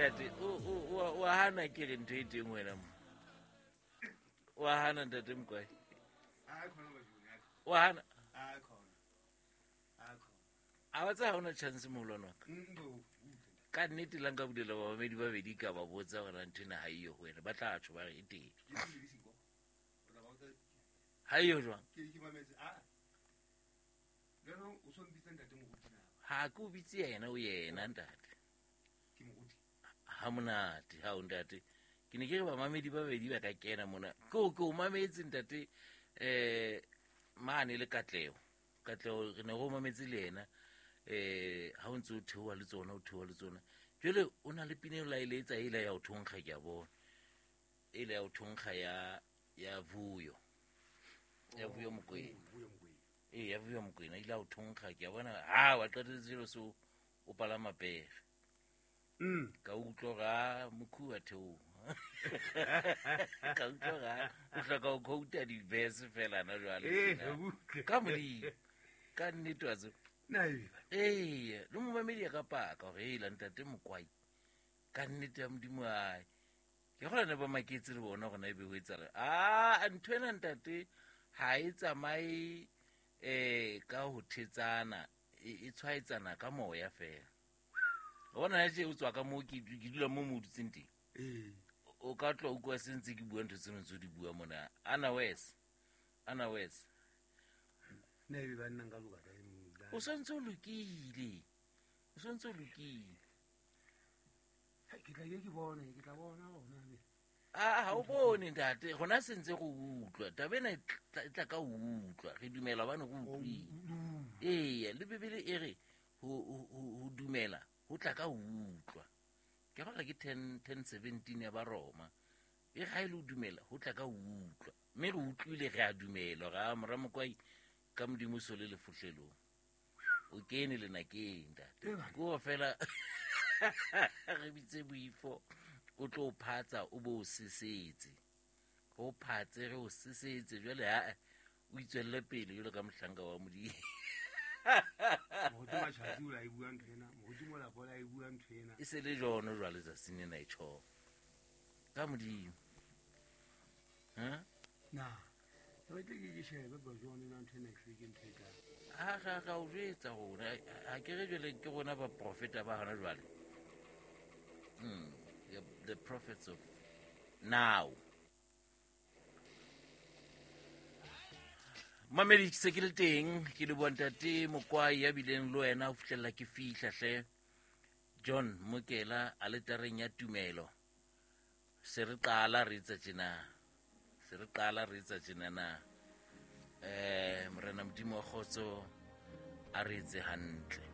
Ntate, o hana ke re ntho e teng wena mo. O hana ntate Mokwai. O hana. A ba tsa ha ona chance moholwane wa ka. Ka nnete la nka bulela bamamedi ba bedi ka ba botsa gore ntho ena ha eyo ho wena, ba tla tjho ba re e teng. Ha eyo jwang? Ha ke o bitse yena, o yena ntate. Ha monate, ha o ntate. Ke ne ke re bamamedi ba babedi ba ka kena mona. Ke o mametse ntate mane le Katleho. Katleho re ne re o mametse le yena. Ha o ntse o theoha le tsona, o theoha le tsona. Jwale o na le pina eo la e letsa ela ya ho thonkga, ke a bona. Ela ya ho thonkga ya Vuyo. Ya Vuyo Mokwena. Ee, ya Vuyo Mokwena ile ya ho thonkga, ke a bona. Ha wa qetelletse jwale so o palama pere. Ka utlwa hore a mokhu wa theoha. Ka utlwa hore a o hloka ho quote di-verse fela na jwale. Ka Modimo. Ka nnete wa tseba. Ee, le momamedi a ka paka hore hela ntate Mokwai. Ka nnete ya Modimo ae. Ke kgona ne ba maketse le bona hore na ebe ho etsahala. Ah, ntho ena ntate ha e tsamaye ka ho thetsana, e tshwaetsana ka moya fela. O bona tje o tswa ka moo ke dula mo mo dutseng teng. O ka tloha utlwa se ntse ke bua ntho tseno tse di bua mona. Ana wes. Ana wes. Ne ebe ba nna nka loka kae mo? O santse o lokile. O santse o lokile. Ke tla ke bone, ke tla bona hona be. Ah, ha o bone ntate, rona se ntse re utlwa. Taba ena e tla ka utlwa. Re dumela hobane re utlwile. Ee, le Bibele e re ho dumela ho tla ka utlwa. Ke kgolwa ke 10:17 ya ba Roma. E ga ile o dumela ho tla ka utlwa. Mme re utlwile re a dumela hore a mora Mokwai ka Modimo so le lefohlelong. O kene le nakeng ntate. Ko fela re bitse boifo o tlo phatsa o bo sesetse. O phatse re o sesetse jwale ha o itswelle pele jwalo ka mohlanka wa Modimo. Moruti Matjhatsi o la e bua ntho ena, moruti Molapo o la e bua ntho ena. E se le jono jwale tsatsing lena e tjho. Ka Modimo. Ha? Na. Re tle ke shebe ba jone na ntho ena e hlweke ntho e kae. Ha ga ga o jwetsa rona, ha ke re jwale ke rona ba profeta ba hona jwale. The prophets of now. Mamedi ke se ke le teng, ke le bua ntate Mokwai ya bileng le wena ho fihlella ke fihla hle. John Mokela aletareng ya tumelo. Se re qala re etsa tjena. Se re qala re etsa tjena na. Morena Modimo wa kgotso a re etse hantle.